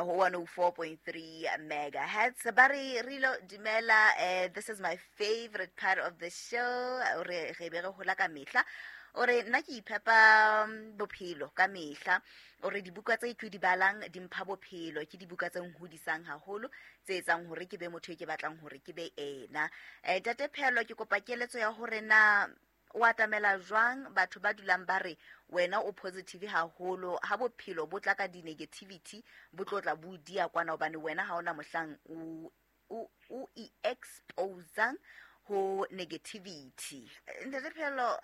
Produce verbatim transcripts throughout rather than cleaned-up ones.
Ho one oh four point three megahertz. Ba re Rilo dumela, eh, this is my favorite part of the show. O re re be re hola ka mehla. O re nna ke iphepa bophelo ka mehla. O re dibuka tse ke di balang di mpha bophelo, ke dibuka tse nhodisang haholo, tse etsang hore ke be motho e ke batlang hore ke be ena. Eh, Ntate Pheello, ke kopa keletso ya hore na o atamela jwang batho ba dulang ba re wena o positive haholo, ha bophelo bo tla ka di-negativity bo tlo tla bo dia kwana, hobane wena ha ona mohlang o, o, o i-exposang ho negativity. Ntate Pheello,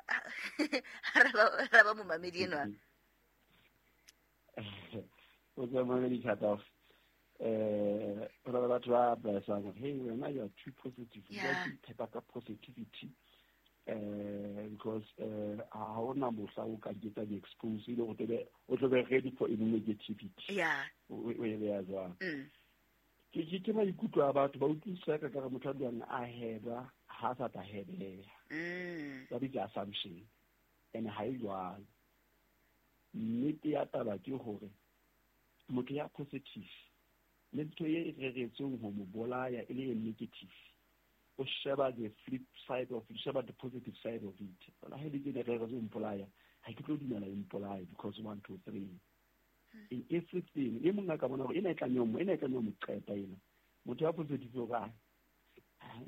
ra ba, ra ba momamedi enwa. O tswa momamedi cut off. Eh, ho na le batho ba advisang hore, hey, wena you are too positive. You Yeah. are too ka positivity. Eh, because, eh, ha hona mohla o ka ketsa di-expose, e le hore tebe, o tlo be ready for any negativity. Yeah. O, o e beya jwang? Mm. Ke, ke, ke maikutlo a batho ba utlwisisa ka re motho a dulang a heba, ha a sa tla hebeha. Mm. Ba bitsa assumption. And ha e jwalo. Nnete ya taba ke hore motho ya positive le ntho e reretsweng ho mo bolaya e le e negative, o sheba the flip side of it, sheba the positive side of it. Ona ha e le tjena reretswe ho mpolaya, ha ke tlo dumela e mpolaye because one, two, three. In everything, e mong a ka bona hore ena e tlameha ho mo, ena e tlameha ho mo qeta ena. Motho ya positive o re, ha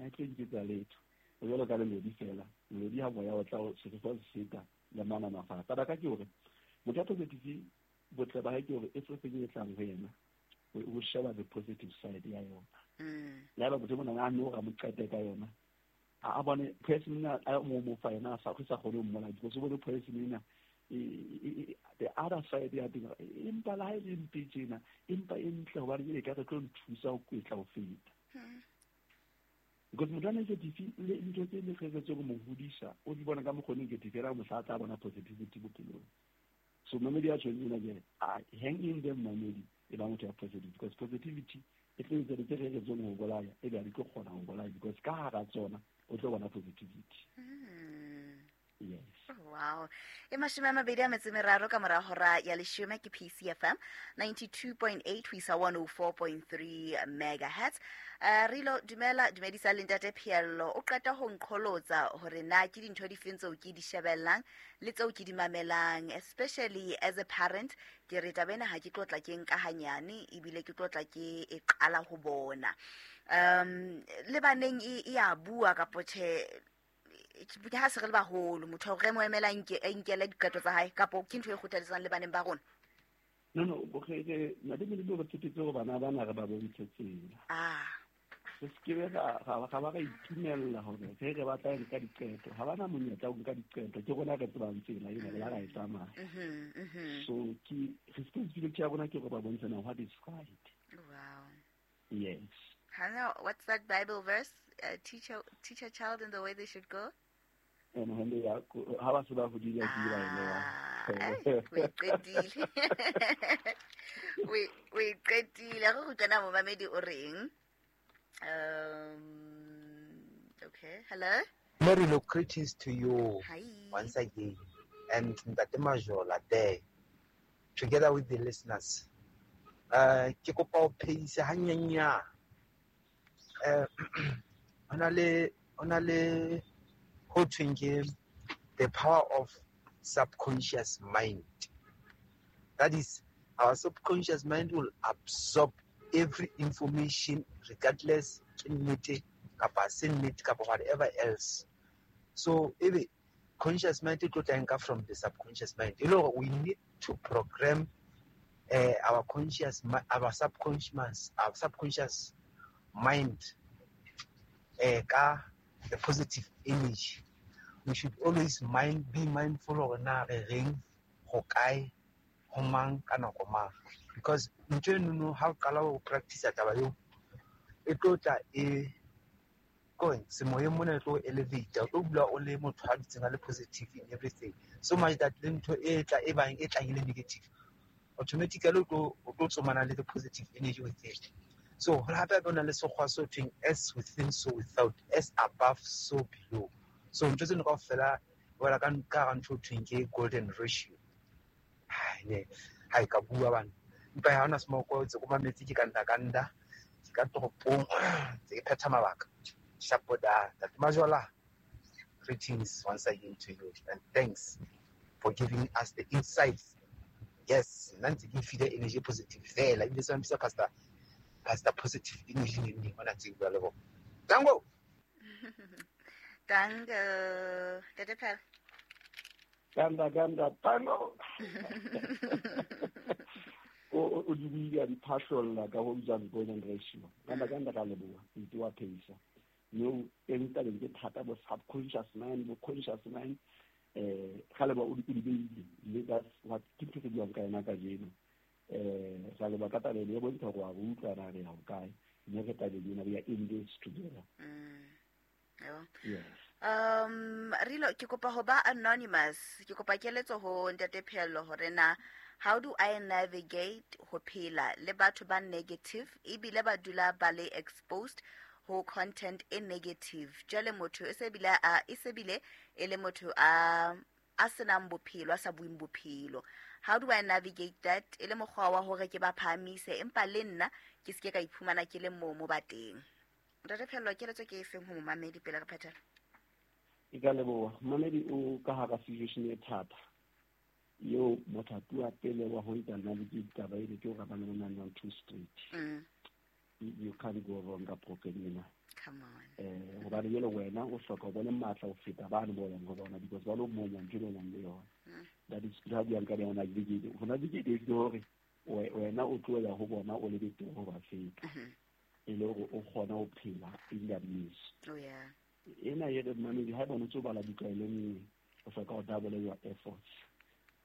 a tlo nketsa letho. O jwalo ka lelodi fela. Lelodi ha moya o tla o sefefo se feta le manama fatshe. Taba ka ke hore motho ya positive botle ba hae ke hore everything e tlang ho yena, o, o sheba the positive side ya yona. Mm. Le haeba motho e mong a no ra mo qete ka yona, a, a bone poison ena a mo mo fa yena, a sa, sa kgone ho mmolaya because o bone poison ena, e, e, e, the other side ya teng, empa le ha e le mpe tjena, empa e ntle hobane e ka re tlo nthusa ho kwetla ho feta. Hmm. Because motho a negative, le ntho tse le reretsweng ho mo hodisa, o di bona ka mokgwa o negative, ela mohla a tla bona positivity bophelong. So mamedi a tjhong ena ke, ah, hang in there mamedi, e ba motho ya positive, because positivity e tlo etsa tse reretsweng ho bolaya, e be ha di tlo kgona ho bolaya, because ka hara tsona o tlo bona positivity. Hmm. Yes. Wow. E mashome a mabedi a metso e meraro ka mora hora ya leshome ke P C F M ninety-two point eight ho isa one oh four point three megahertz. Eh, Rilo, dumela, dumedisa le Ntate Pheello. O qeta ho nqholotsa hore na ke dintho di feng tseo ke di shebellang le tseo ke di mamelang, especially as a parent. Ke re taba ena ha ke tlo tla ke nka hanyane, ebile ke tlo tla ke e qala ho bona. Um, le baneng e, e a bua kapo tjhe, ke ha se re le baholo, motho re mo emela nke, a nkele diqeto tsa hae, kapo ke ntho e kgothaletsang le baneng ba rona? No, no, bo re, re, na le mele re tshepetse hore bana bana re ba bontshe tsela. Ah. Re se ke be ra, ra, ra ba ra itumella hore re re batla nka diqeto. Ha bana monyetla ho nka diqeto, ke rona re tsebang tsela ena, re la ra e tsamaya. Mhm, mhm. So ke responsibility ya rona ke hore ba bontshe na what is right. Wow. Yes. Hana, what's that Bible verse? Uh, teach a, teach a child in the way they should go. And when they are, ha ba se ba hodile, ke ba e lewa. Ah, eh, o e qetile. O e, o e qetile. Re kgutlana momamedi o reng? Um, okay, hello. Mary, look, greetings to you Hi. once again, and Ntate Majola there, together with the listeners. Uh, ke kopa ho phehisa hanyenyane. Eh, ho na le, ho na le ho thweng ke the power of subconscious mind. That is, our subconscious mind will absorb every information regardless ke nnete kapa se nnete kapa whatever else. So ebe conscious mind e tlo tla nka from the subconscious mind. E le hore we need to program, eh, our conscious mi-, our subconscious, our subconscious mind, eh, ka the positive energy. We should always mind, be mindful hore na re reng, ho kae, ho mang, ka nako mang. Because ntho eno no, ha o qala ho practice taba eo, e tlo tla e going semoyeng mona e tlo elevate, o tlo dula o le motho a dutseng a le positive in everything, so much that le ntho e tla e bang e tlang e le negative, automatically o tlo, o tlo tsomana le the positive energy with it. So ho hape hape ho na le sekgwa se ho thweng as within so without, as above so below. So ntho tseno kaofela wela ka ka hara ntho ho thweng ke golden ratio. Hai, ne, ha e ka bua bana. Empa ha hona smoko tse ko mametse ke kanda kanda ke ka toropong tse ke phetha mabaka. Shapoda Ntate Majola, greetings once again to you and thanks for giving us the insights. Yes, nna ntse ke file energy positive fela ebile se mpitsa pastor pastor positive energy neng neng hona tse bua le bona. Tango. Tango. Ntate Phel. Ganda ganda tango. O o di buile a di phahlolla ka ho bitswang golden ratio. Ganda ganda ka leboha ntse wa phehisa. No teng tabeng ke thata bo subconscious mind bo conscious mind eh ga leba o di di beile le that's what ke ntho re buang ka yona kajeno. Eh ga leba ka tabeng e bontsha gore wa utlwa na re ya ho kae mme re tabeng ena we are in this together. Mm. Yes. Um Rilo ke kopa ho ba anonymous, ke kopa keletso ho Ntate Pheello hore na how do I navigate ho phela le batho ba negative ebile ba dula ba le exposed ho content e negative. Jwale motho e se bile a e se bile e le motho a a senang bophelo a sa bueng bophelo. How do I navigate that e le mokgwa wa hore ke ba phahamise empa le nna ke seke ka iphumana ke le moo mo ba teng. Ntate Pheello keletso ke e feng ho momamedi pele re phethela? Ke ka leboha. Momamedi o ka hara situation e thata eo mothapi wa pele wa ho etsa navigate taba ene ke hore ba ne ba nang two straight. Mm. You can't go wrong ka program ena. Come on. Eh hobane jwale wena o hloka ho bona matla ho feta bane bo yang ho bona because ba lo monya ntho e nang le yona. That is ha buang ka yona navigate. Ho navigate ke hore wena o tlohela ho bona o le betere ho ba feta. E le hore o kgona ho phela in their midst. Oh yeah. Ena e re mamedi ha bona tso bala buka e le nngwe o hloka ho double your efforts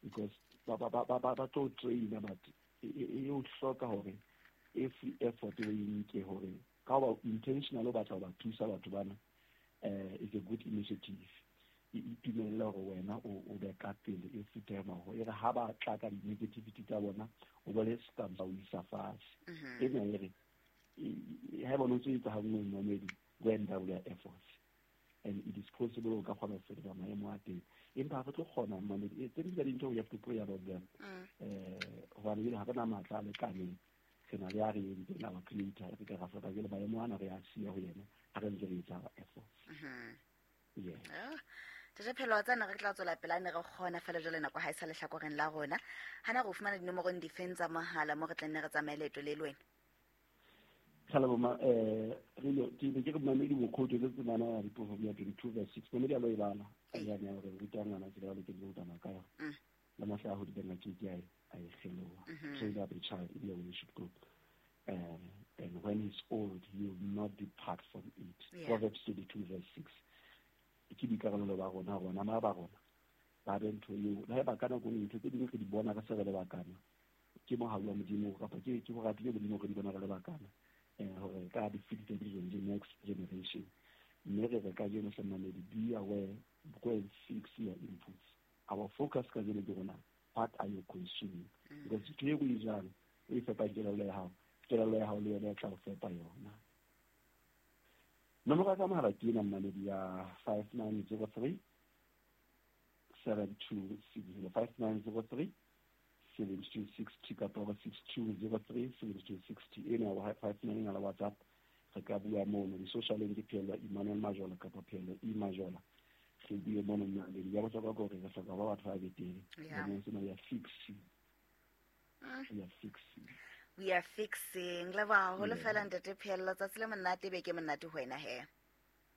because ba ba ba ba ba tlo train but e o hloka hore every effort o e nke hore ka ba intentional o batla ho ba thusa batho bana eh is a good initiative. E itumella hore wena o o be ka pele every time hore e re ha ba tla ka di-negativity tsa bona o bo le stamp o isa fatshe. Ena e re ha bona o tse etsa ha nngwe momedi go and double your efforts and it is possible o ka kgona ho fetola maemo a teng empa ha re tlo kgona mamedi tse ding tsa dintho we have to pray about them eh hobane jwale ha re na matla a lekaneng re na le a re entseng our creator re ka ra hloka jwale maemo ana re a siya ho yena ha re ntse re etsa our efforts. Yes. Ntate Pheello wa tsena re tla tswela pele ne re kgona fela jwale nako ha e sa lehlakoreng la rona. Hana re fumana dinomorong difeng tsa mohala mo re tla nne re tsamaye leeto le le wena? Hello ma eh re ke ke re mamedi mokhoto le tsemana ya diproverb ya twenty-two verse six mamedi a lo e bala a ya ne re ruta ngwana tsela ya loketseng ho tsamaya ka yona le mahla a hodileng a ke ke a a e kgeloha. Train up a child in the way he should go, uh, and when he's old he will not depart from it. Yeah. Proverbs twenty-two verse six ke boikarabelo ba rona rona ma ba rona ba be ntho eo le haeba ka nako e ntho tse dingwe re di bona re se re le bakana ke mohau wa Modimo kapa ke ke ho ratile Modimo re di bona re le bakana eh hore ka di fetisa di next generation mme re re ka jeno hle mamedi be aware go and fix your inputs. Our focus ka jeno ke rona what are you consuming because ntho e o e jang o e fepa kelello ya hao kelello ya hao le yona e tla o fepa yona. Nomoro ya ka mohala ke ena mamedi ya five nine zero three seven two six zero five nine zero three seven two six two kapa six two zero three seven two six two ena wa five nine la WhatsApp re ka bua mono di-social ke Pheello Emmanuel Majola kapa Pheello E Majola re bue mono mmamedi ya bohlokwa ke hore re hloka ba batho ba betere lemong sena we are fixing we are fixing we are fixing leboha haholo fela Ntate Pheello tsatsi le monate be ke monate ho wena he.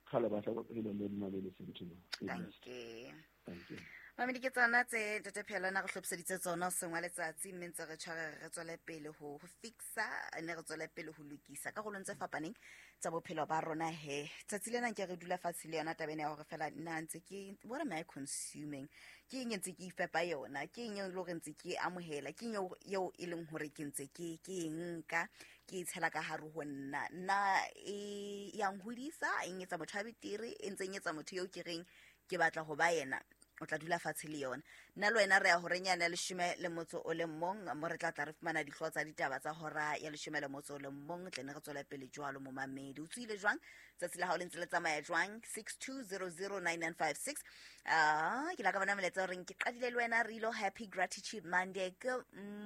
Kgale ba hloka le le mmamedi sentimo. Thank you. Thank you. Mamedi ke tsona tse Ntate Pheello na re hlophiseditse tsona hoseng wa letsatsi mme ntse re tshware re tswele pele ho ho fixa ne re tswele pele ho lokisa karolong tse fapaneng tsa bophelo ba rona he. Tsatsi lena nke re dula fatshe le yona taba ena ya hore fela nna ntse ke what am I consuming ke eng ntse ke ifepa yona ke eng e le hore ntse ke amohela ke eng eo e leng hore ke ntse ke ke nka ke tshela ka hare ho nna nna e ya nhodisa e etsa motho a betere e ntse e etsa motho eo ke reng ke batla ho ba yena. O tla dula fatshe le yona. Nna le wena re ya horeng yane ya leshome le motso o le mong, mo re tla tla re fumana dihlooho tsa ditaba tsa hora ya leshome le motso o le mong, tle ne re tswele pele jwalo. Momamedi, o tsohile jwang? Tsatsi la hao le ntse le tsamaya jwang? six two zero zero nine nine five six. Ah, ke la ka bona molaetsa o reng ke qadile le wena Rilo. Happy Gratitude Monday. Good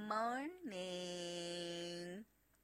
morning.